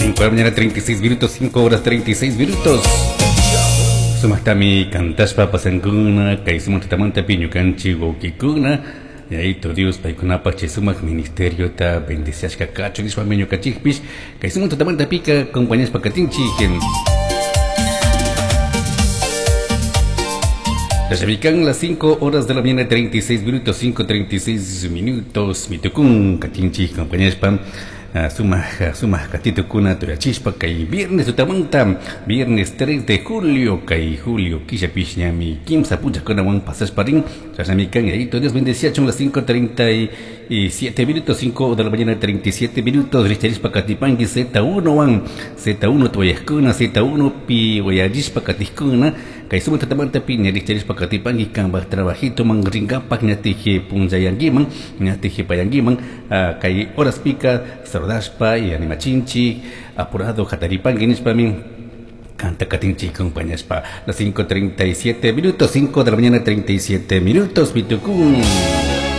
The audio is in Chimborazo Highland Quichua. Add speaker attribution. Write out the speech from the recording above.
Speaker 1: 5 de la mañana 36 minutos, 5 horas 36 minutos. Sumaktami kantashpa pasankuna, kay sumak tutamantapi ñukanchik wawkikuna, Yaito Dios paykunapak chay sumak ministeriota bendiciashka kachun nishpami ñukanchikpish kay sumak tutamantapika acompañashpa katinchik. Yachamikan las 5 horas de la mañana 36 minutos, 5:36 minutos, mitukun katinchik acompañashpa sumak sumak katitukuna tuyachishpa kay viernes tutamanta, viernes 3 de julio, kay julio killapish ñami kimsa punllakunawan pasashpa rin, chashnamikan Yaito Dios bendeciachun las 5:37 minutos, 5 de la mañana 37 minutos, richarishpa katipanki Z1 wan, Z1 tuyaskuna, Z1 pi wayallishpa katiskuna, kay sumak tutamanta pi ña richarishpa katipanki kanpak trabajito man rinkapak ñatije punllayankiman, ñatije payankiman, kay horas pika saludashpa y animachinchik, apurado hataripanki nishpami canta katinchik acompañashpa las 5:37 minutos, 5 de la mañana 37 minutos, mitukun.